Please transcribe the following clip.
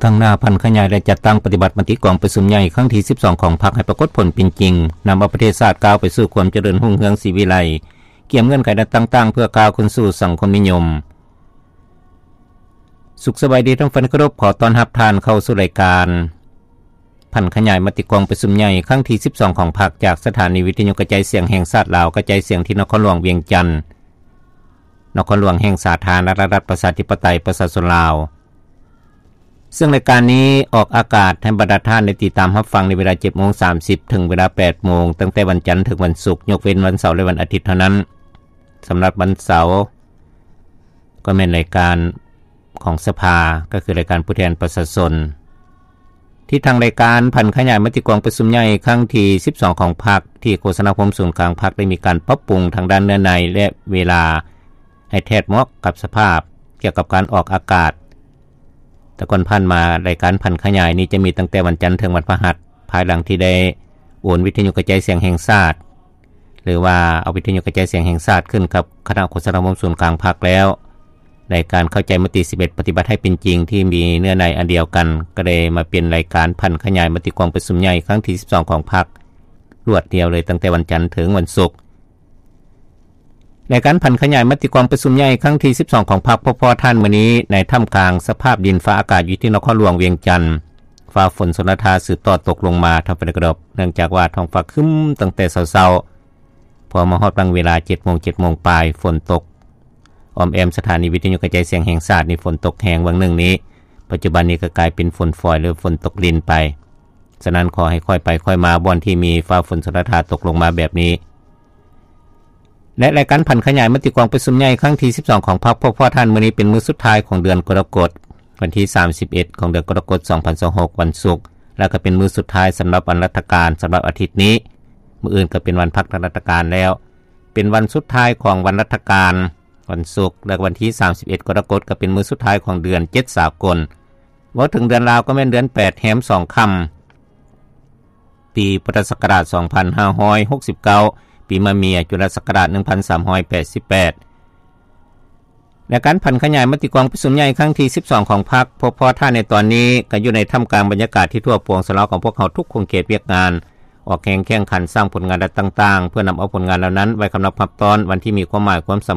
ຕັ້ງໜ້າຜັນຂະຫຍາຍ ແລະ ຈັດຕັ້ງປະຕິບັດມະຕິກອງປະຊຸມໃຫຍ່ຄັ້ງທີສິບສອງຂອງພັກໃຫ້ປາກົດຜົນເປັນຈິງ, ນຳເອົາປະເທດຊາດກ້າວໄປສູ່ຄວາມຈະເລີນຮຸ່ງເຮືອງສີວິໄລ, ກຽມເງື່ອນໄຂແນວຕ່າງໆ ເພື່ອກ້າວຂຶ້ນສູ່ສັງຄົມນິຍົມ. ສຸກສະບາຍດີທ່ານຜູ້ຟັງທີ່ເຄົາລົບ, ຂໍຕ້ອນຮັບທ່ານເຂົ້າສູ່ລາຍການຜັນຂະຫຍາຍມະຕິກອງປະຊຸມໃຫຍ່ຄັ້ງທີສິບສອງຂອງພັກ ຈາກສະຖານີວິທະຍຸກະຈາຍສຽງແຫ່ງຊາດລາວ, ກະຈາຍສຽງທີ່ນະຄອນຫຼວງວຽງຈັນ, ນະຄອນຫຼວງແຫ່ງສາທາລະນະລັດປະຊາທິປະໄຕປະຊາຊົນລາວ. ເຊິ່ງລາຍການນີ້ອອກອາກາດໃຫ້ບັນດາທ່ານໄດ້ຕິດຕາມຮັບຟັງໃນເວລາເຈັດໂມງສາມສິບ ເຖິງເວລາແປດໂມງ ຕັ້ງແຕ່ວັນຈັນເຖິງວັນສຸກ, ຍົກເວັ້ນວັນເສົາ ແລະ ວັນອາທິດເທົ່ານັ້ນ. ສຳລັບວັນເສົາ ກໍແມ່ນລາຍການຂອງສະພາ, ກໍຄືລາຍການຜູ້ແທນປະຊາຊົນ ທີ່ທາງລາຍການຜັນຂະຫຍາຍມະຕິກອງປະຊຸມໃຫຍ່ຄັ້ງທີສິບສອງຂອງພັກ ທີ່ໂຄສະນາອົບຮົມສູນກາງພັກ ໄດ້ມີການປັບປຸງທາງດ້ານເນື້ອໃນ ແລະ ເວລາໃຫ້ແທດເໝາະກັບສະພາບ ກ່ຽວກັບການອອກອາກາດ. ແຕ່ກ່ອນຜ່ານມາ ລາຍການຜັນຂະຫຍາຍນີ້ຈະມີຕັ້ງແຕ່ວັນຈັນເຖິງວັນພະຫັດ, ພາຍຫຼັງທີ່ໄດ້ໂອນວິທະຍຸກະຈາຍສຽງແຫ່ງຊາດ ຫຼືວ່າເອົາວິທະຍຸກະຈາຍສຽງແຫ່ງຊາດຂຶ້ນກັບຄະນະໂຄສະນາອົບຮົມສູນກາງພັກແລ້ວ, ລາຍການເຂົ້າໃຈມະຕິສິບເອັດ ປະຕິບັດໃຫ້ເປັນຈິງ ທີ່ມີເນື້ອໃນອັນດຽວກັນ ກໍໄດ້ມາເປັນລາຍການຜັນຂະຫຍາຍມະຕິກອງປະຊຸມໃຫຍ່ຄັ້ງທີສິບສອງຂອງພັກ ລວດດຽວເລີຍ ຕັ້ງແຕ່ວັນຈັນເຖິງວັນສຸກ. ລາຍການຜັນຂະຫຍາຍມະຕິກອງປະຊຸມໃຫຍ່ຄັ້ງທີສິບສອງຂອງພັກ ພົບພໍ້ທ່ານມື້ນີ້ ໃນທ່າມກາງສະພາບດິນຟ້າອາກາດຢູ່ທີ່ນະຄອນຫຼວງວຽງຈັນ, ຟ້າຝົນຊົນລະທາສືບຕໍ່ຕົກລົງມາ ທ່ານຜູ້ຟັງທີ່ເຄົາລົບ, ເນື່ອງຈາກວ່າທ້ອງຟ້າຄຶ້ມຕັ້ງແຕ່ເຊົ້າໆ, ພໍມາຮອດບາງເວລາເຈັດໂມງ ເຈັດໂມງປາຍ ຝົນຕົກອ້ອມແອ້ມສະຖານີວິທະຍຸກະຈາຍສຽງແຫ່ງຊາດນີ້ ຝົນຕົກແຮງຫວ່າງໜຶ່ງນີ້, ປັດຈຸບັນນີ້ກໍກາຍເປັນຝົນຝອຍ ຫຼື ຝົນຕົກລິນໄປ. ສະນັ້ນ ຂໍໃຫ້ຄ່ອຍໄປຄ່ອຍມາ ບ່ອນທີ່ມີຟ້າຝົນຊົນລະທາຕົກລົງມາແບບນີ້. ແລະ ລາຍການຜັນຂະຫຍາຍມະຕິກອງປະຊຸມໃຫຍ່ຄັ້ງທີສິບສອງຂອງພັກ ພົບພໍ້ທ່ານມື້ນີ້ເປັນມື້ສຸດທ້າຍຂອງເດືອນກໍລະກົດ, ວັນທີສາມສິບເອັດຂອງເດືອນກໍລະກົດ ສອງພັນຊາວຫົກ ວັນສຸກ, ແລະ ກໍເປັນມື້ສຸດທ້າຍສຳລັບວັນລັດຖະການສຳລັບອາທິດນີ້. ມື້ອື່ນກໍເປັນວັນພັກທາງລັດຖະການແລ້ວ, ເປັນວັນສຸດທ້າຍຂອງວັນລັດຖະການ ວັນສຸກ ແລະ ວັນທີສາມສິບເອັດກໍລະກົດ ກໍເປັນມື້ສຸດທ້າຍຂອງເດືອນເຈັດສາກົນ. ເວົ້າເຖິງເດືອນລາວ ກໍແມ່ນເດືອນແປດແຮມສອງຄ່ຳ ປີພຸດທະສັກກະລາດສອງພັນຫ້າຮ້ອຍຫົກສິບເກົ້າ, ປີມະເມຍ ຈຸລະສັກກະລາດໜຶ່ງພັນສາມຮ້ອຍແປດສິບແປດ. ແລະ ການຜັນຂະຫຍາຍມະຕິກອງປະຊຸມໃຫຍ່ຄັ້ງທີສິບສອງຂອງພັກ ພົບພໍ້ທ່ານໃນຕອນນີ້ ກໍຢູ່ໃນທ່າມກາງບັນຍາກາດທີ່ທົ່ວປວງສະເລົາຂອງພວກເຮົາທຸກຂົງເຂດວຽກງານ ອອກແຮງແຂ່ງຂັນສ້າງຜົນງານດ້ານຕ່າງໆ ເພື່ອນຳເອົາຜົນງານເຫຼົ່ານັ້ນໄວ້ຄຳນັບຮັບຕ້ອນວັນທີ່ມີຄວາມໝາຍຄວາມສຳ